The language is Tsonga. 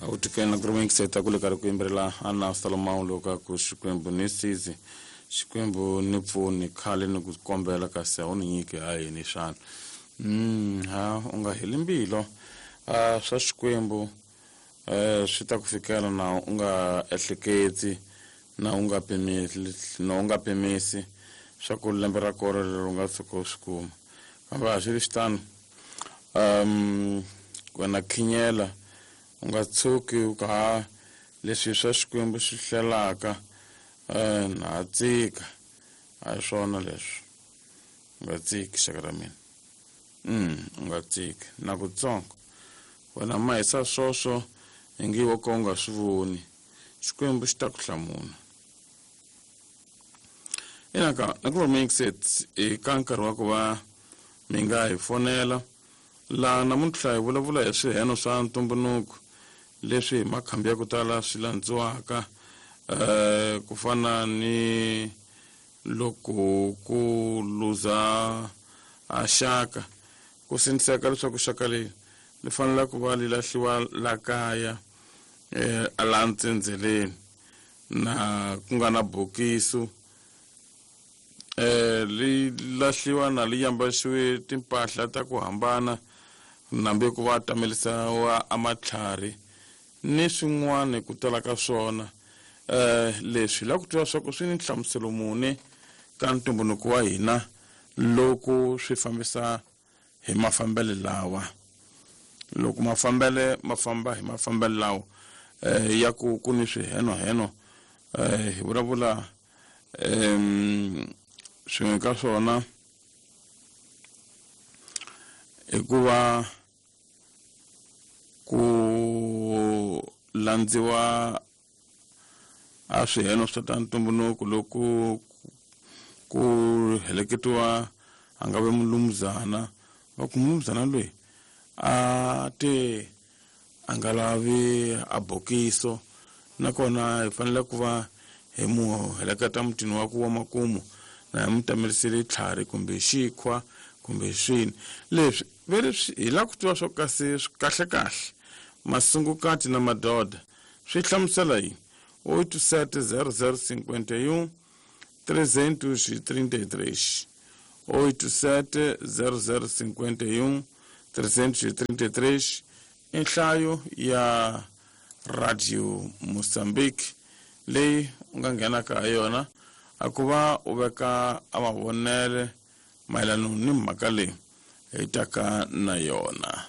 A wu tikeni na ku ri yingiseta ku le karhi ku yimbelela Ana Salomão loko a ku Xikwembu ni sizi, Xikwembu ni pfuni, khale ni ku kombela kasi a wu ni nyiki ha yini xana? Ha u nga heli mbilo, swa Xikwembu swi ta ku fikela na u nga ehleketi na u nga pimisi, na u nga pimisi swa ku lembe ra kona leri u nga tshuka u swi kuma. Kambe a swi ri xitano, wena khinyela, u nga tshuki u ka ha leswi swa Xikwembu xi hlelaka, na ha tsika. A hi swona leswi. U nga tsiki, xaka ra mina. U nga tsiki na kutsongo. Wena mahisa swoswo ingi wo ka u nga swi voni. Xikwembu xi ta ku hlamula. Ina ka na ku ri i ka nkarhi wa ku va mi nga hi fonela laha namuntlha hi vulavula hi swiheno swa ntumbuluko leswi hi makhambi ya ku tala swi landziwaka, ku fana ni loko ku luza a xaka, ku sindziseka leswaku xaka leri li fanele ku va li lahliwa la kaya, laha ntsendzeleni na ku nga na bokiso, li lahliwa na li yambaxiwe timpahla ta ku hambana, nambe ku va tamelisiwa a matlhari ni swin'wana ku tala ka swona. Leswi la ku tiva swa ku swi ni nhlamuselo muni ka ntumbuluko wa hina loko swi fambisa hi mafambele lawa, loko mafambele ma famba hi mafambele lawa, ya ku ku ni swihenoheno, hi vulavula, swin'we ka swona hikuva ku landziwa a swiheno swa ta ntumbuluko loko ku heleketiwa a nga ve mulumuzana, va ku mulumuzana loyi a te a nga lavi a bokiso, nakona hi fanele ku va hi mu heleketa mutini wa ku wa makumu na hi mu tamelisele tlhari kumbe xikhwa kumbe swini leswi ve ri hi lava ku tiva swo kasi kahle kahle masungukati na madoda swi hlamusela yini. 87 00 51 333, 87 00 51 333 i nhlayo ya Radio Mozambique leyi u nga nghenaka ha yona a ku va u veka a mavonele mayelana ni mhaka leyi hi taka na yona.